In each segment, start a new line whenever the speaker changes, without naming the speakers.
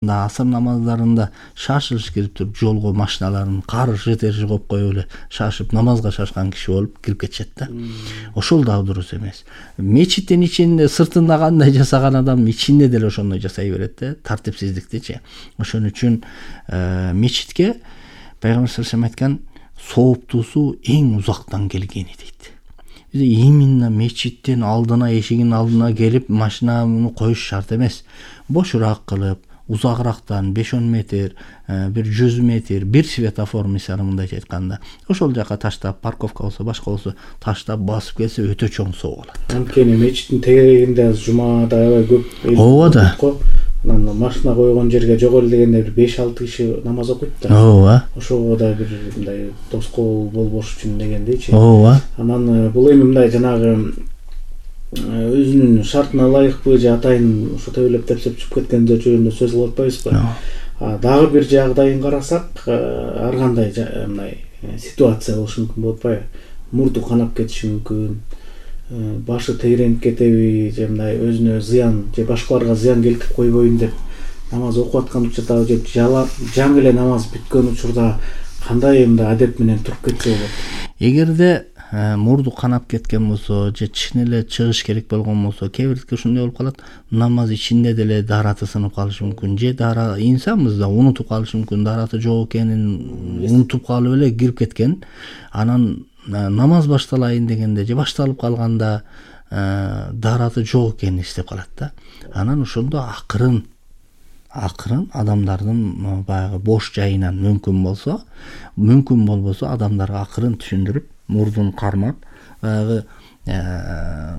Асыр намаздарында шашылыш кирип туруп жолго машиналарын каршы терши коюп коюп эле шашып намазга шашкан киши болуп кирип кетишет да. Ошол дагы дурус эмес. Мечиттин ичинде сыртында кандай жасаган адам ичинде деле ошондой жасай берет да, тартипсиздиктичи. Ошон үчүн мечитке Пайгамбар саллаллаху алейхи айткан сооптуусу эң узактан келгени дейт. Именно мечиттин алдына, эшигинин алдына келип машинаны коюш шарт эмес. Бошураак кылып, узагырактан 5-10 метр, бир 100 метр, бир светофор мисалы мындайча айтканда, ошол жака таштап, парковка болсо, башка болсо таштап басып келсе өтө чоң соо болот.
Анткени мечиттин тегерегинде азыр жумада аябай көп
ооба да.
Анан машина койгон жерге жогору дегенде бир 5-6 киши намаз окуйт да.
Ооба.
Ошого да бир мындай тоскоол болбош үчүн дегендейчи.
Ооба.
Анан бул эми мындай жанагы өзүнүн шартына ылайыкпы же атайын ошо төбөлөп тепсеп чыгып кеткендер жөнүндө сөз кылып атпайбызбы? Дагы бир жагдайын карасак, ар кандай мындай ситуация болушу мүмкүн болуп атпайбы? Мурду канап кетиши мүмкүн, башы тегеренип кетеби, же мындай өзүнө зыян же башкаларга зыян келтирип койбойм деп намаз окуп аткан учурда же жаңы эле намаз бүткөн учурда кандай мындай адеп менен туруп кетсе болот?
Эгерде мурду канап кеткен болсо же чын эле чыгыш керек болгон болсо, кээ бирдики ушундай болуп калат, намаз ичинде деле даараты сынып калышы мүмкүн, же инсанбыз да унутуп калышы мүмкүн, даараты жок экенин унутуп калып эле кирип кеткен. Анан намаз башталайын дегенде же башталып калганда даараты жок экенин эстеп калат да. Анан ошондо акырын адамдардын баягы бош жайынан мүмкүн болбосо адамдарга акырын түшүндүрүп, мурдун кармап, баягы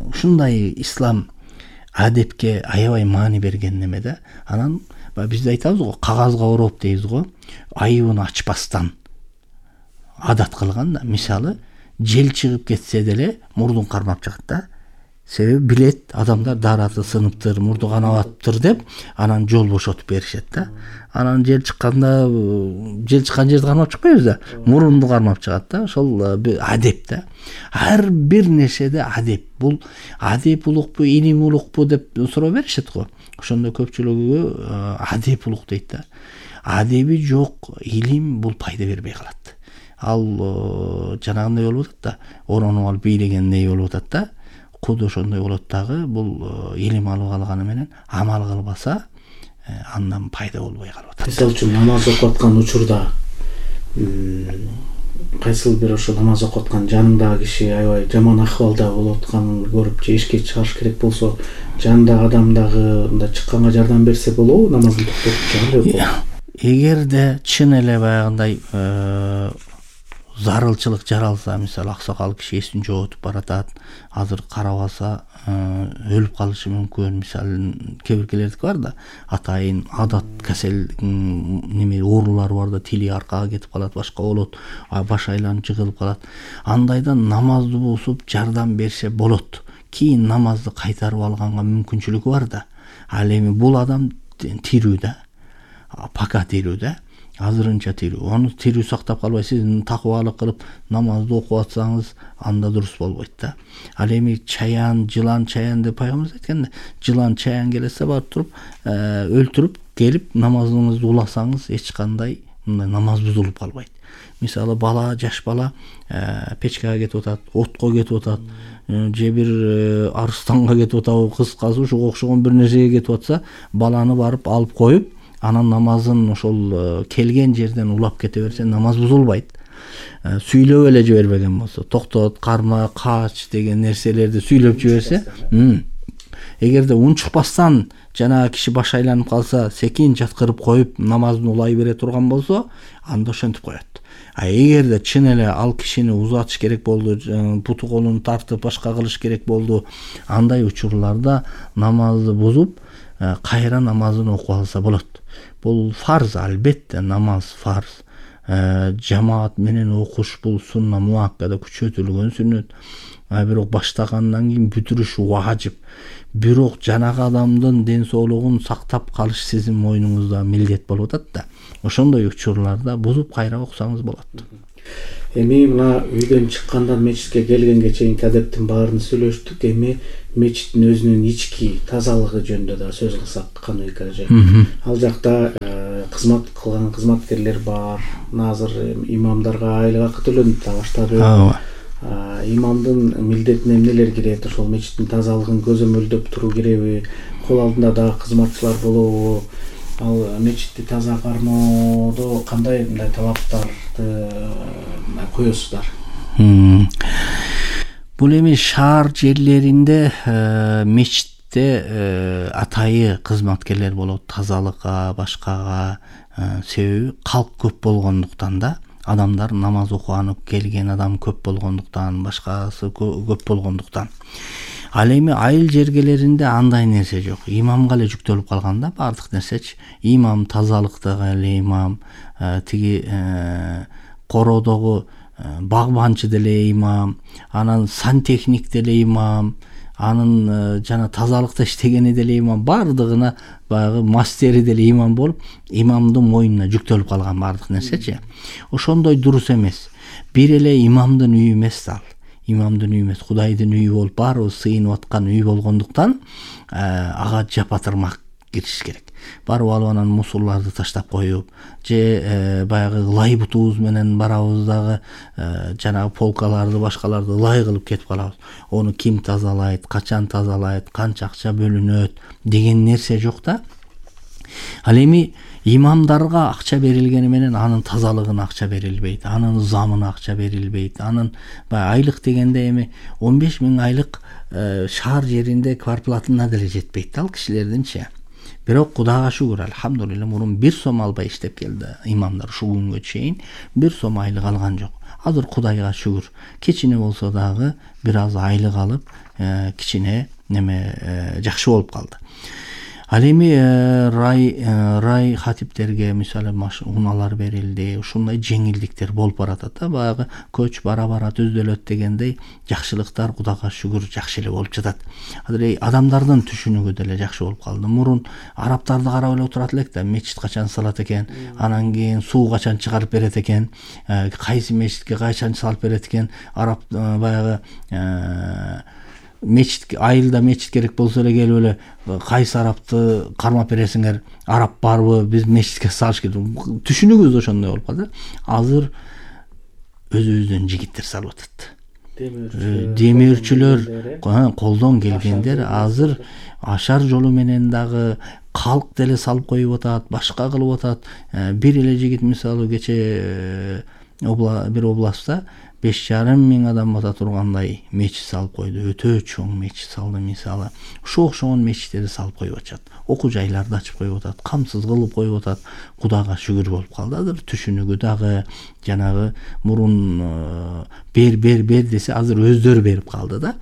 ушундай ислам адепке аябай маани берген неме да. Анан биз айтабыз го, кагазга ороп дейбиз го, айыбын ачпастан адат кылган да. Мисалы, жел чыгып кетсе деле мурдун кармап чыгат да. Себеби билет, адамдар даараты сыныптыр, мурду канап атыптыр деп, анан жол бошотуп беришет да. Анан жел чыккан жерди кармап чыкпайбыз да, мурунду кармап чыгат да. Ошол адеп да. Ар бир нерседе адеп. Бул адеп улукпу, илим улукпу деп суроо беришет го. Ошондо көпчүлүгү адеп улук дейт да. Адеби жок илим бул пайда бербей калат. Ал жанагындай болуп атат да, оронуп алып бийлегендей болуп атат да. Куд ошондой болот дагы, бул илим алып алганы менен амал кылбаса, андан пайда болбой калып атат.
Мисалы үчүн намаз окуп аткан учурда кайсыл бир ошо намаз окуп аткан жаныңдагы киши аябай жаман акыбалда болуп атканын көрүп же ишке чыгыш керек болсо, жанындагы адам дагы мындай чыкканга жардам берсе болобу, намазын токтотуп чыгып?
Эгерде чын эле баягындай зарылчылык жаралса, мисалы аксакал киши эсин жоготуп баратат, азыр карабаса өлүп калышы мүмкүн. Мисалы, кээ биркилердики бар да, атайын адат касел неме оорулары бар да, тили аркага кетип калат, башка болот, баш айланып жыгылып калат. Андайда намазды бузуп жардам берсе болот. Кийин намазды кайтарып алганга мүмкүнчүлүгү бар да. Ал эми бул адам тирүү да, пака тирүү да. Азырынча тирүү. Аны тирүү сактап калбай, сиз такыбалык кылып намазды окуп атсаңыз, анда дурус болбойт да. Ал эми чаян, жылан чаян деп пайгамбарыбыз айткан да, жылан чаян келсе барып туруп, өлтүрүп келип намазыңызды уласаңыз, эч кандай намаз бузулуп калбайт. Мисалы, бала, жаш бала печкага кетип атат, отко кетип атат, же бир арыстанга кетип атабы, кыскасы ушуга окшогон бир нерсеге кетип атса, баланы барып алып коюп, анан намазын ошол келген жерден улап кете берсе, намаз бузулбайт. Сүйлөп эле жибербеген болсо, токтот, карма, кач деген нерселерди сүйлөп жиберсе, эгерде унчукпастан жанагы киши баш айланып калса, секин жаткырып коюп намазын улай бере турган болсо, анда ошентип коет. Эгерде чын эле ал кишини узатыш керек болду, путу колун тартып башка кылыш керек болду, андай учурларда намазды бузуп, кайра намазын окуп алса болот. Бул фарз, албетте намаз фарз. Жамаат менен окуш бул сунна муаккада, күчөтүлгөн сүннөт. Бирок баштагандан кийин бүтүрүш важип. Бирок жанагы адамдын ден соолугун сактап калыш сиздин мойнуңузда милдет болуп атат да. Ошондой учурларда бузуп кайра окусаңыз болот.
Эми мына үйдөн чыккандан мечитке келгенге чейинки адептин баарын сүйлөштүк. Эми мечиттин өзүнүн ички тазалыгы жөнүндө да сөз кылсак кандай кажы. Ал жакта кызмат кылган кызматкерлер бар. Азыр имамдарга айлык акы төлөнүп да баштады. Имамдын милдетине эмнелер кирет? Ошол мечиттин тазалыгын көзөмөлдөп туруу керекби? Кол алдында да кызматчылар болобу? Ал мечитти таза кармоодо кандай мындай талаптарды коесуздар?
Бул эми шаар жерлеринде мечитте атайы кызматкерлер болот, тазалыкка, башкага. Себеби калк көп болгондуктан да, адамдар намаз окуганы келген адам көп болгондуктан, башкасы көп болгондуктан. Ал эми айыл жергелеринде андай нерсе жок. Имамга эле жүктөлүп калган да бардык нерсечи. Имам тазалыктагы эле имам, тиги короодогу багбанчы деле имам, анан сантехник деле имам, анын жана тазалыкта иштегени деле имам, бардыгына баягы мастери деле имам болуп, имамдын мойнуна жүктөлүп калган бардык нерсечи. Ошондой дурус эмес. Бир эле имамдын үйү эмес ал. Имамдын үйү эмес, Кудайдын үйү болуп, баарыбыз сыйынып аткан үй болгондуктан ага жапатырмак кириш керек. Барып алып анан мусурларды таштап коюп, же баягы лай бутубуз менен барабыз дагы жанагы полкаларды, башкаларды лай кылып кетип калабыз. Ону ким тазалайт, качан тазалайт, канча акча бөлүнөт деген нерсе жок да. Ал эми имамдарга акча берилгени менен анын тазалыгына акча берилбейт, анын замына акча берилбейт, анын айлык дегенде эми 15 000 айлык шаар жеринде квартплатына деле жетпейт ал кишилердинчи. Бирок Кудайга шүгүр, алхамдулилла, мурун 1 сом албай иштеп келди имамдар, ушул күнгө чейин 1 сом айлык алган жок. Азыр Кудайга шүгүр, кичине болсо дагы бир аз айлык алып, кичине неме жакшы болуп калды. Ал эми рай хатиптерге мисалы унаалар берилди, ушундай жеңилдиктер болуп баратат да, баягы көч бара түздөлөт дегендей жакшылыктар Кудайга шүгүр жакшы эле болуп жатат. Азыр адамдардын түшүнүгү деле жакшы болуп калды. Мурун арабтарды карап эле отурат элек да, мечит качан салат экен, анан кийин суу качан чыгарып берет экен, кайсы мечитке качан салып берет экен, араб баягы мечит, айылда мечит керек болсо эле келип эле кайсы арабты кармап бересиңер, араб барбы, биз мечитке салыш керек. Түшүнүгүбүз ошондой болуп калды. Азыр өзүбүздөн жигиттер салып атат. Демирчүлөр, колдон келгендер азыр ашар жолу менен дагы калк деле салып коюп атат, башка кылып атат. Бир эле жигит мисалы кече бир областта 5,5 мың адам бата тургандай мечит салып койду. Өтө чоң мечит салды мисалы. Ошо окшогон мечиттерди салып коюп атышат. Окуу жайларды ачып коюп атат, камсыз кылып коюп атат. Кудайга шүгүр болуп калды. Азыр түшүнүгү дагы жанагы мурун бер десе азыр өздөрү берип калды да.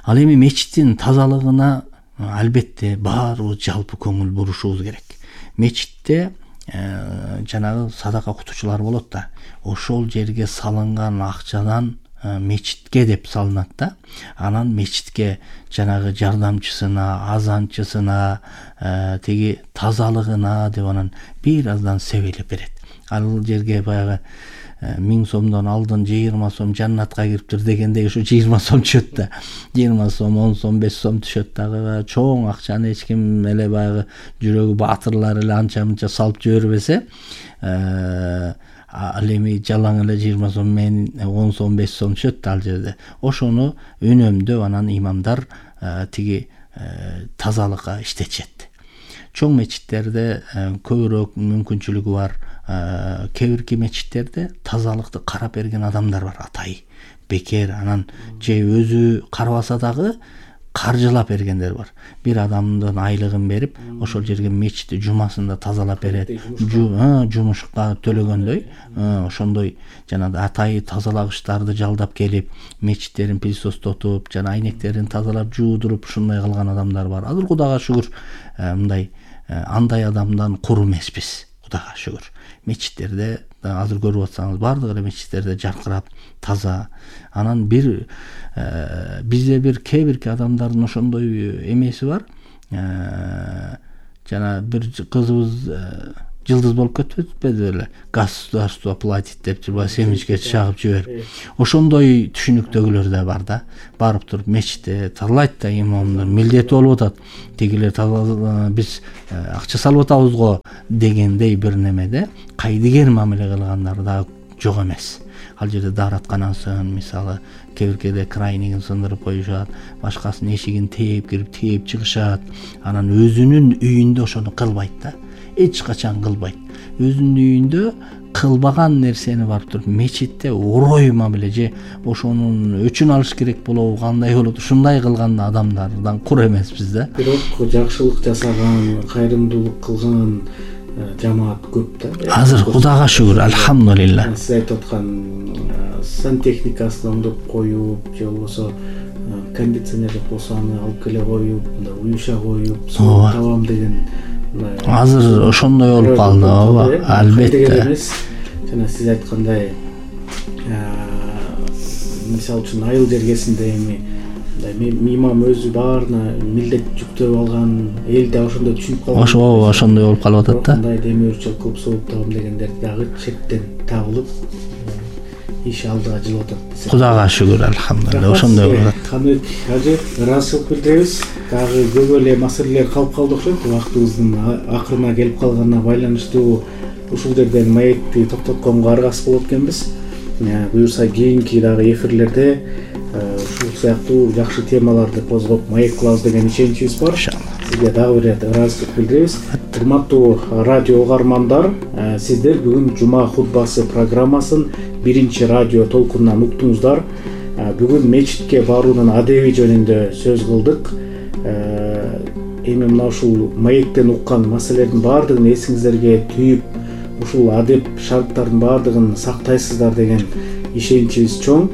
Ал эми мечиттин тазалыгына албетте баарыбыз жалпы көңүл бурушубуз керек. Мечитте жанагы садака кутучулар болот да, ошол жерге салынган акчадан мечитке деп салынат да. Анан мечитке жанагы жардамчысына, азанчысына, тиги тазалыгына деп анан бир аздан себелеп берет. Ал жерге баягы 1000 сомдон алдын 20 сом жаннатка кириптир дегендей ушу 20 сом түшөт да. 20 сом, 10 сом, 5 сом түшөт дагы. Чоң акчаны эч ким эле баягы жүрөгү баатырлар эле анча-мынча салып жибербесе, ал эми жалаң эле 20 сом менен 10 сом, 5 сом түшөт ал жерде. Ошону үнөмдөп анан имамдар тиги тазалыкка иштетишет. Чоң мечиттерде көбүрөөк мүмкүнчүлүгү бар. Кээ-бирки мечиттерде тазалыкты карап берген адамдар бар, атай, бекер, анан же өзү карабаса дагы каржылап бергендер бар. Бир адамдын айлыгын берип, ошол жерге мечитти жумасында тазалап берет. Жумушка төлөгөндөй, ошондой жанагы атай тазалагычтарды жалдап келип, мечиттерин пылесостотуп, жана айнектерин тазалап, жуудуруп, ушундай кылган адамдар бар. Азыр Кудайга шүгүр, мындай андай адамдан кур эмеспиз. Кудайга шүгүр. Мечиттерде азыр көрүп атсаңыз бардык эле мечиттерде жаркырап, таза. Анан бир бизде бир кээ-бирки адамдардын ошондой эмеси бар. Жана бир кызыбыз жылдыз болуп кетпеди беле, государство платит деп жүрбөй семечке чагып жиберип. Ошондой түшүнүктөгүлөр да бар да. Барып туруп мечитте талайт да имамдар милдети болуп атат. Тегилер биз акча салып атабыз го дегендей бир немеде кайдыгер мамиле кылгандар да жок эмес. Ал жерде дааратканасын, мисалы, кебиркеде крайнигин сындырып коюшат, башкасынын эшигин тээп кирип, тээп чыгышат. Анан өзүнүн үйүндө ошону кылбайт да. Эч качан кылбайт. Өзүнүн үйүндө кылбаган нерсени барып туруп мечитте орой мамиле же ошонун өчүн алыш керек болобу, кандай болот, ушундай кылган адамдардан кур эмеспиз да.
Бирок жакшылык жасаган, кайрымдуулук кылган жамаат көп да.
Азыр Кудайга шүгүр, альхамдулилла.
Сиз айтып аткан сантехникасын оңдоп коюп, же болбосо кондиционер болсо аны алып келе коюп, мындай уюша коюп, суу табам деген
азыр ошондой болуп калды, ооба, албетте.
Жана сиз айткандай, мисалы үчүн айыл жергесинде эми имам өзү баарына милдет жүктөп алган, эл да ошондой түшүнүп калган.
Ошондой болуп калып атат да.
Мындай демөөрчү кылып сууп табам дегендер дагы чектен табылып, иш алдыга жылып атат.
Кудайга шүгүр, альхамдулилла, ошондой болуп атат.
Каныбек ажы, ыраазычылык билдиребиз. Дагы көп эле маселелер калып калды окшойт. Убактыбыздын акырына келип калганына байланыштуу ушул жерден маекти токтотконго аргасыз болот экенбиз. Буюрса кийинки дагы эфирлерде ушул сыяктуу жакшы темаларды козгоп маек кылабыз деген ишеничибиз бар. Сизге дагы бир ирет ыраазычылык билдиребиз. Урматтуу радио угармандар, сиздер бүгүн жума хутбасы программасын биринчи радио толкунунан уктуңуздар. Бүгүн мечитке баруунун адеби жөнүндө сөз кылдык. Эми мына ушул маектен уккан маселелердин баардыгын эсиңиздерге түйүп, ушул адеп шарттардын баардыгын сактайсыздар деген ишеничибиз чоң.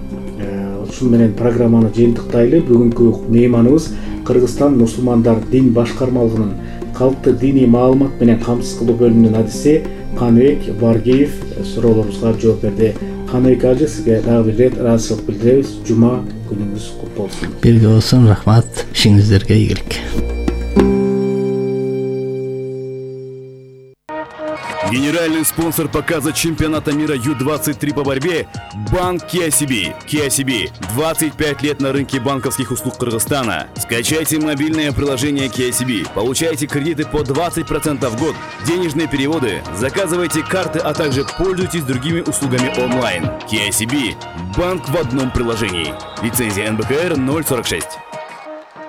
Ушун менен программаны жыйынтыктайлы. Бүгүнкү мейманыбыз Кыргызстан мусулмандар дин башкармалыгынын калктык диний маалымат менен камсыз кылуу бөлүмүнүн адиси Каныбек Баргиев суроолорубузга жооп берди. Каныбек ажы, сизге дагы бир рет ыраазычылык билдиребиз. Жума күнүңүз куту болсун.
Бирге болсун, рахмат. Ишиңиздерге ийгилик.
Генеральный спонсор показа чемпионата мира Ю-23 по борьбе – Банк KCB. KCB – 25 лет на рынке банковских услуг Кыргызстана. Скачайте мобильное приложение KCB, получайте кредиты по 20% в год, денежные переводы, заказывайте карты, а также пользуйтесь другими услугами онлайн. KCB – банк в одном приложении. Лицензия НБКР 046.